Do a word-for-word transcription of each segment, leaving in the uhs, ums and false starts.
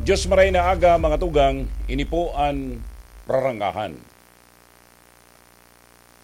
Diyos maray na aga, mga tugang, ini po an Rarangahan.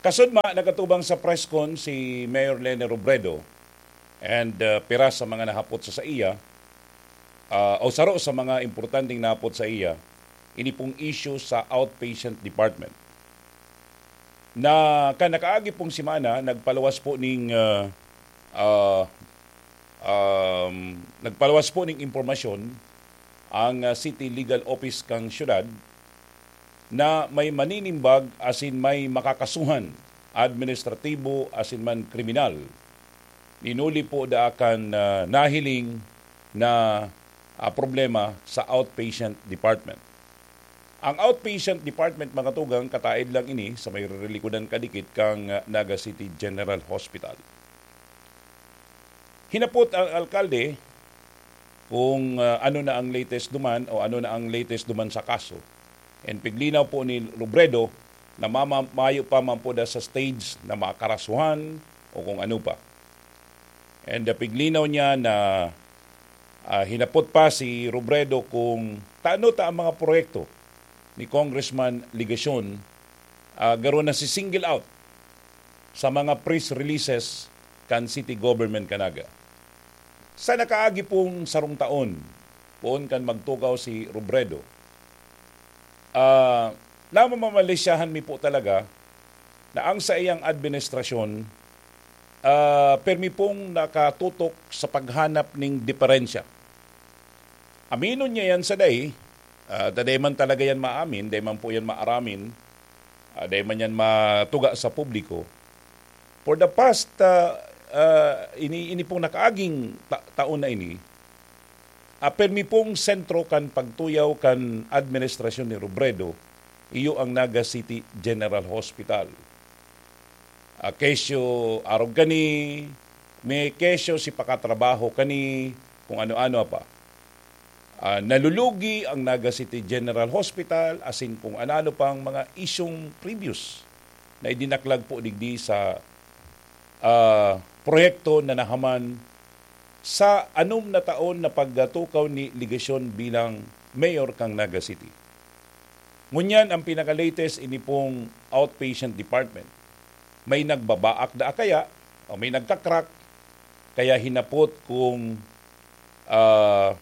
Kasudma, nagatubang sa press con si Mayor Leni Robredo and, uh, pira sa mga nahapot sa saiya, uh, o saro sa mga importanteng nahapot sa iya, ini pong issue sa outpatient department. Na kan nakaagi pong semana, nagpaluwas po ning, uh, uh, um, nagpaluwas po ning impormasyon ang, ah, City Legal Office kan siyudad na may maninimbag asin may makakasuhan, administratibo asin man kriminal, ninuli po daa kan, ah, nahiling na, ah, problema sa outpatient department. Ang outpatient department, mga tugang, kataed lang ini sa may rirelikodan kadikit kan, ah, Naga City General Hospital. Hinapot ang alkalde kung, ah, ano na ang latest duman o ano na ang latest duman sa kaso. And piglinaw po ni Robredo na mama-, mayo pa man po da sa stage na makarasuhan o kung ano pa. And, ah, piglinaw niya na, ah, hinapot pa si Robredo kung tano ta ang mga proyekto ni Congressman Legacion, ah, garo na si single out sa mga press releases kan city government kan Naga. Sa nakaagi pong sarong taon, poon kan magtukaw si Robredo, ah, namamalisyahan mi po talaga na ang saiyang administrasyon, ah, permi pong nakatutok sa paghanap ning diferensya. Aminon niya yan sa dai, ah, ta dai man talaga yan maamin, dai man po yan maaramin, ah, dai man yan matuga sa publiko. For the past, ah, ah, ini, ini pong nakaaging ta-, taon na ini, ah, permi pong sentro kan pagtuyaw kan administrasyon ni Robredo, iyo ang Naga City General Hospital. Ah, kesyo arog kani, may kesyo si pakatrabaho kani, kung ano-ano pa. Ah, nalulugi ang Naga City General Hospital, asin kung ano-ano pang mga isyung previous na idinaklag po digdi sa, ah, proyekto na nahaman sa anom na taon na pagtukaw ni Legacion bilang mayor kan Naga City. Ngunyan, ang pinaka-latest, ini pong outpatient department. May nagbabaak daa kaya, o may nagka-crack, kaya hinapot kung, ah,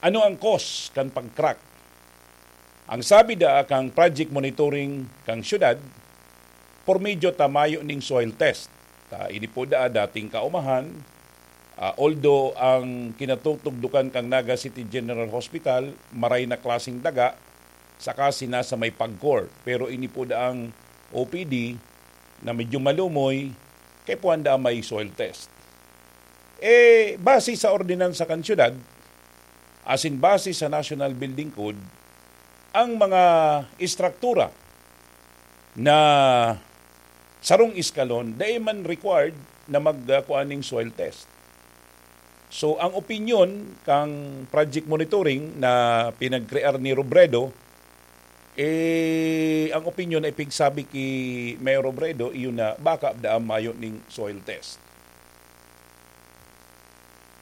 ano ang cause kan pag-crack. Ang sabi daa kan project monitoring kan siyudad, por medyo ta mayo ning soil test. Ta ini po daa dating kaumahan, ah, although ang kinatutugdukan kan Naga City General Hospital, maray na klaseng daga, saka si nasa may pagkor. Pero ini po daang O P D na medyo malumoy, kay puwan daa may soil test. Eh, base sa ordinansa kan siyudad, asin base sa National Building Code, ang mga estruktura na sarong eskalon, dai man required na mag, ah, kuan ning soil test. So, ang opinyon kang project monitoring na pinagkrear ni Robredo, eh, ang opinyon na ipigsabi ki Mayor Robredo, iyon na baka daa mayo ning soil test.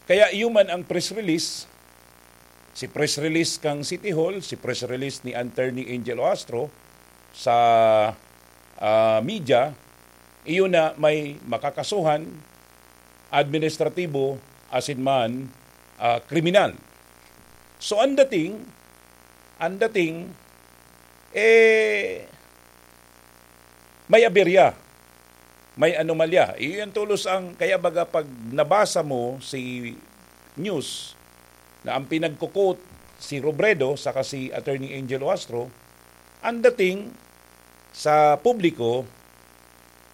Kaya iyo man ang press release, si press release kang City Hall, si press release ni Attorney Angel Oastro sa, ah, media, iyo na may makakasuhan, administratibo, asin man, ah, kriminal. So, ang dating, ang dating, eh, may aberya, may anomalya. Iyon tolos ang, kaya baga pag nabasa mo si news na ang pinagko-quote si Robredo saka si Attorney Angel Oastro, ang dating sa publiko,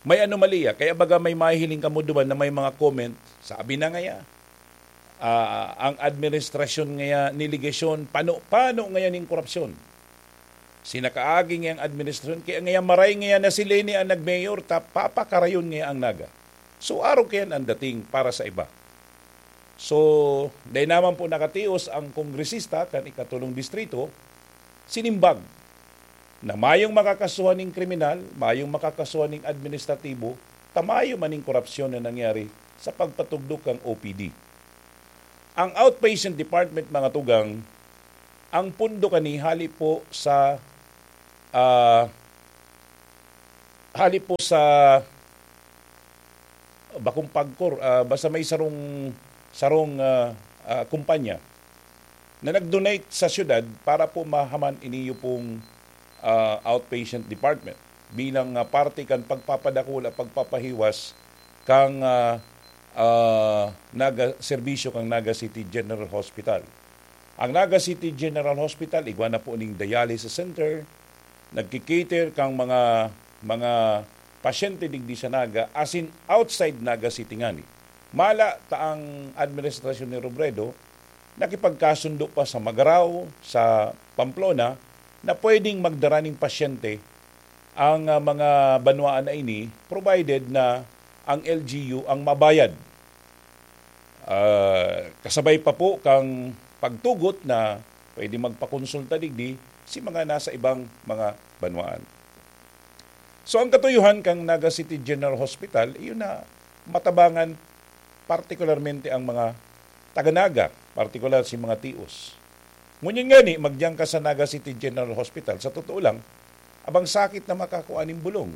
may anomalya. Kaya baga may mahihiling kamo duman na may mga comment, sabi na ngaya, ah, ang administrasyon ngaya ni Legacion, pano-pano ngaya ning korupsyon. Sinakaagi ngaya ang administrasyon, kaya ngaya maray ngaya na si Leni ang nag-mayor, ta papakarayon ngaya ang Naga. So, arog kayan ang dating para sa iba. So, dai naman po nakatios ang kongresista kan ikatulong distrito, sinimbag na mayong makakasuhan ning kriminal, mayong makakasuhan ning administratibo, ta mayo man ning korupsyon na nangyari sa pagpatugdok kan O P D. Ang outpatient department, mga tugang, ang pundo kani hali po sa, ah, hali po sa bakong pagkor, ah, basta may sarong, sarong, ah, ah, kumpanya na nag-donate sa siyudad para po mahaman iniyo pong, ah, outpatient department bilang, ah, parte kan pagpapadakula, pagpapahiwas kang, ah, ah, Naga, serbisyo kang Naga City General Hospital. Ang Naga City General Hospital, igwa na po ning dialysis center, nagki-cater kang mga, mga pasyente digdi sa Naga, asin outside Naga City ngani. Mala ta ang administrasyon ni Robredo, nakipagkasundo pa sa Magarao, sa Pamplona, na pwedeng magdara ning pasyente ang, ah, mga banwaan na ini, provided na ang L G U ang mabayad. Ah, kasabay pa po kang pagtugot na pwede magpakonsulta digdi si mga nasa ibang mga banwaan. So, ang katuyohan kang Naga City General Hospital, iyon na matabangan partikularmente ang mga taga-Naga, partikular si mga tios. Ngunyan ngani, magdiyan ka sa Naga City General Hospital, sa totoo lang, abang sakit na makakua nin bulong.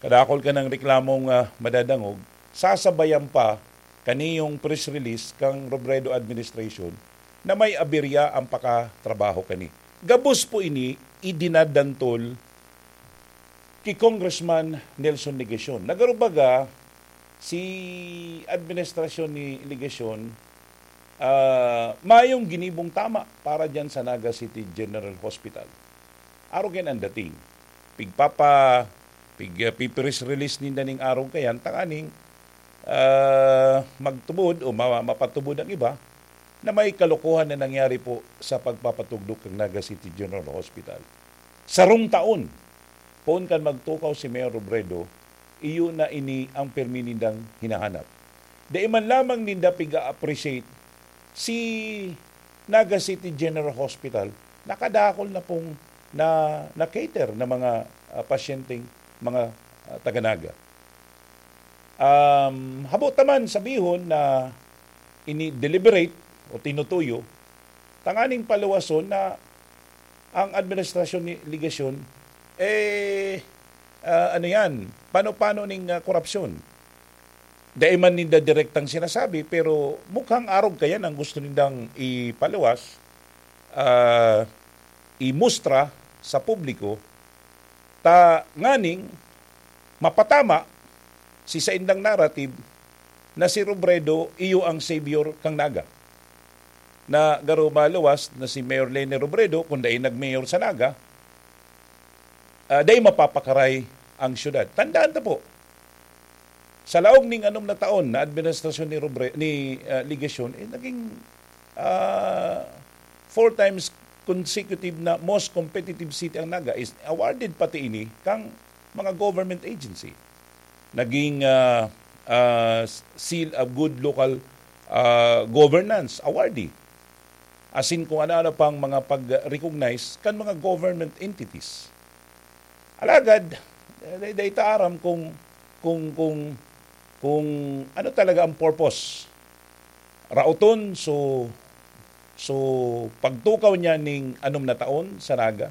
Kadakol ka ng reklamong, ah, madadangog, sasabayan pa kaniyong press release kang Robredo administration na may aberya ang pakatrabaho kani. Gabos po ini idinadantol ki Congressman Nelson Legacion. Nagarubaga, si administrasyon ni Legacion, ah, mayong ginibong tama para diyan sa Naga City General Hospital. Arog yan ang dating. Pigpapa, pig, ah, pipress release ninda ning arog kayan, tanganing, ah, magtubod o ma-, mapatubod ang iba na may kalokohan na nangyari po sa pagpapatugdok ng Naga City General Hospital. Sarong taon, poon kan magtukaw si Mayor Robredo, iyo na ini ang pirmi nindang hinahanap. Dai man lamang ninda piga-appreciate si Naga City General Hospital, nakadakol na pong na, na-cater na mga, ah, pasyenteng mga, ah, taga-Naga. Um, habo ta man sabihon na ini-deliberate o tinutuyo tanganing paluwason na ang administrasyon ni Legacion, eh, ah, ano yan, pano-pano ning, ah, korupsyon. Dai man ninda direktang sinasabi, pero mukhang arog kayan ang gusto nindang ipaluwas, ah, imustra sa publiko, ta nganing mapatama si saindang narrative na si Robredo iyo ang savior kang Naga. Na garo maluwas na si Mayor Leni Robredo, kung dai nag-mayor sa Naga, ah, dai mapapakaray ang syudad. Tandaan ta po, sa laog ning anom na taon na administrasyon ni Robre-, ni, ah, Legacion, eh, naging, ah, four times consecutive na most competitive city ang Naga, is awarded pati ini kang mga government agency. Naging, ah, ah, seal of good local, ah, governance awardee. Asin kung ano-ano pang mga pag-recognize kan mga government entities. Alagad, eh, dai, dai ta aram kung, kung, kung, kung ano talaga ang purpose. Raoton, so, so pagtukaw niya ning anom na taon sa Naga,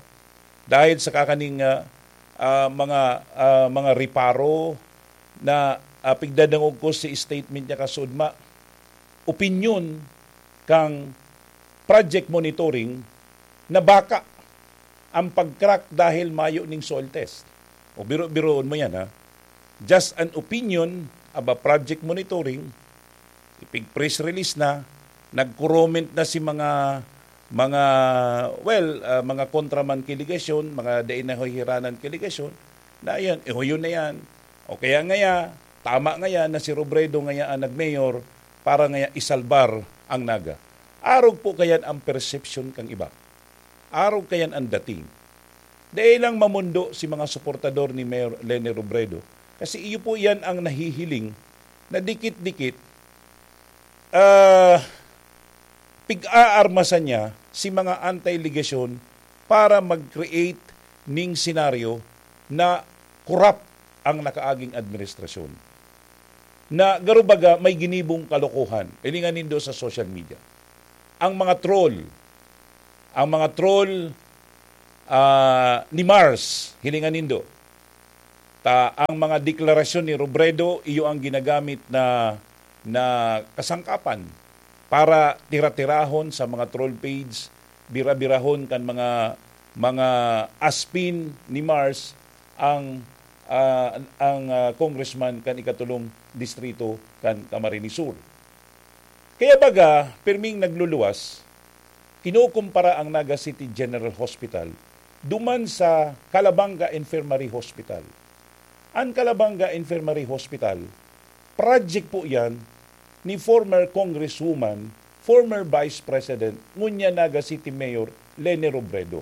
dahil sa kakaning, ah, ah, mga, ah, mga reparo na, ah, pigdadangog ko si statement niya kasudma, opinyon kang project monitoring na baka ang pag-crack dahil mayo ning soil test. O biro-biroon mo yan, ha? Just an opinion about project monitoring, ipig-press release na, nag-comment na si mga, mga, well, ah, mga kontra man ki Legacion, mga dai nahuhiranan ki Legacion, na yan, ihuyo na yan. O kaya ngaya, tama ngaya na si Robredo ngaya ang nag-mayor para ngaya isalbar ang Naga. Arog po kayan ang perception kang iba. Arog kayan ang dating. Dai lang mamondo si mga suportador ni Mayor Leni Robredo, kasi iyo po iyan ang nahihiling na dikit-dikit, ah, pig-aarmasan niya si mga anti-Legacion para mag-create ning senaryo na korap ang nakaaging administrasyon. na garo baga may ginibong kalokohan. Hilingan nindo sa social media. Ang mga troll, ang mga troll, ah, ni Mars, hilingan nindo. Ta ang mga deklarasyon ni Robredo, iyo ang ginagamit na, na kasangkapan para tira-tirahon sa mga troll page, bira-birahon kan mga, mga aspin ni Mars ang, ah, ang, ah, congressman kan ikatulong distrito kan Camarines Sur. Kaya baga, pirming nagluluwas, kinukumpara ang Naga City General Hospital duman sa Calabanga Infirmary Hospital. Ang Calabanga Infirmary Hospital, project po yan ni former congresswoman, former vice president, ngunyan Naga City Mayor Leni Robredo.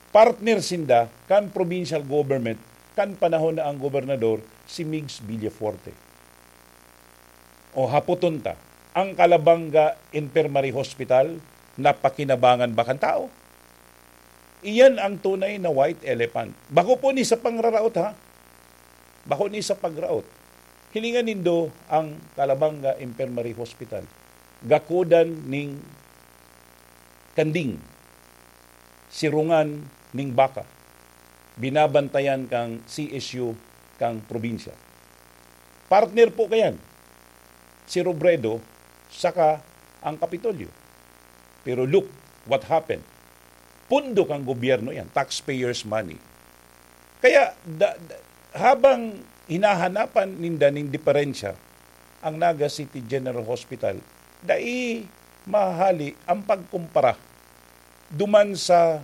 Partner sinda kan provincial government kan panahon na ang gobernador si Migs Villafuerte. O hapoton ta, ang Calabanga Infirmary Hospital napakinabangan ba kan tao? Iyan ang tunay na white elephant. Bako po ni sa pangraraot, ha? Bako ni sa pagraot. Hilingan nindo ang Calabanga Infirmary Hospital. Gakodan ning kanding, sirungan ning baka, binabantayan kang C S U kang probinsya. Partner po kayan, si Robredo saka ang Kapitolyo. Pero look what happened. Pundo kang gobyerno yan, taxpayers' money. Kaya da, da, habang hinahanapan ninda ning diferensya ang Naga City General Hospital, dai mahali ang pagkumpara duman sa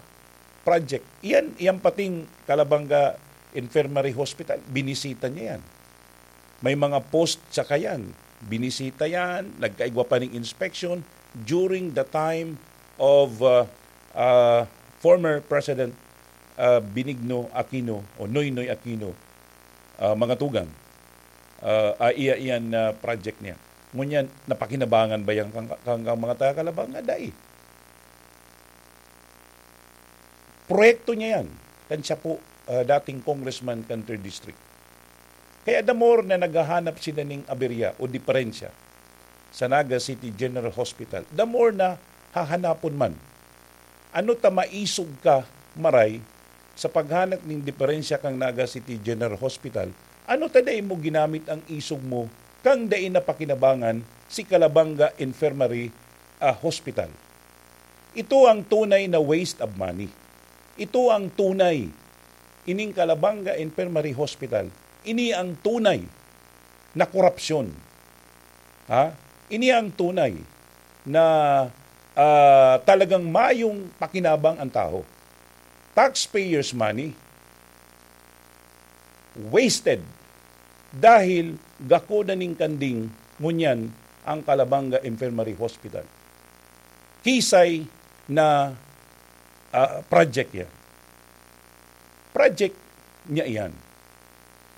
project. Iyan, iyan pating Calabanga Infirmary Hospital, binisita niya yan. May mga post sa kayan, binisita yan, nagkaigwa pa ning inspection during the time of uh, uh, former President uh, Benigno Aquino o Noynoy Aquino, uh, mga tugang. Uh, uh, iya iyan na project niya. Ngunyan, napakinabangan ba yan kang, kang, kang mga taga Calabanga? Dai. Proyekto niya yan. Kan siya po, ah, dating congressman kan third District. Kaya the more na naghahanap sila ning aberya o diferensya sa Naga City General Hospital, the more na hahanapon man. Ano ta maisog ka, Maray, sa paghanap ning diferensya kang Naga City General Hospital? Ano ta dai mo ginamit ang isog mo kang dai napakinabangan si Calabanga Infirmary, ah, Hospital? Ito ang tunay na waste of money. Ito ang tunay. Ining Calabanga Infirmary Hospital, ini ang tunay na korupsyon. Ha? Ini ang tunay na, ah, talagang mayong pakinabang ang tao. Taxpayers' money wasted dahil gakodan ning kanding ngunyan ang Calabanga Infirmary Hospital. Kisay na, ah, project yan. Project niya iyan.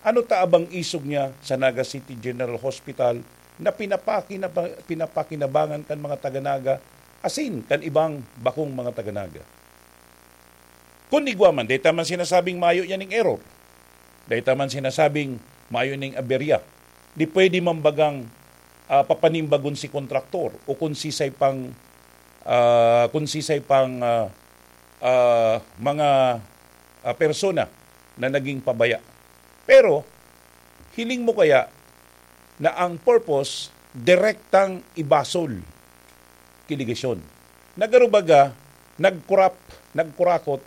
Ano ta abang isog niya sa Naga City General Hospital na pinapakina-, pinapakinabangan kan mga taga-Naga asin kan ibang bakong mga taga-Naga? Kun igwa man, dai ta man sinasabing mayo yan ning error. Dai ta man sinasabing mayo ning aberya. Di pwede man bagang, ah, papanimbagon si kontraktor o kun sisay pang, ah, kun sisay pang, ah, ah, mga, ah, persona na naging pabaya. Pero, hiling mo kaya na ang purpose, direktang ibasol ki legasyon? Nagarubaga, nagkurap, nagkurakot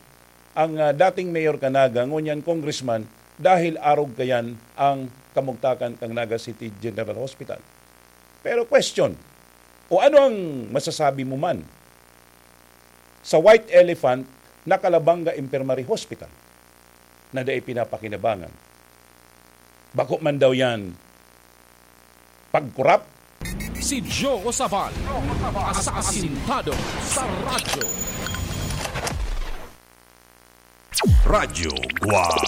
ang, ah, dating mayor kan Naga, ngunyan congressman, dahil arog kayan ang kamugtakan kan Naga City General Hospital. Pero question, o ano ang masasabi mo man sa white elephant na Calabanga Infirmary Hospital na dai pinapakinabangan? Bako man daw yan pagkurap? Si Joe Sabal, asasintado sa radyo. Radyo Guwang.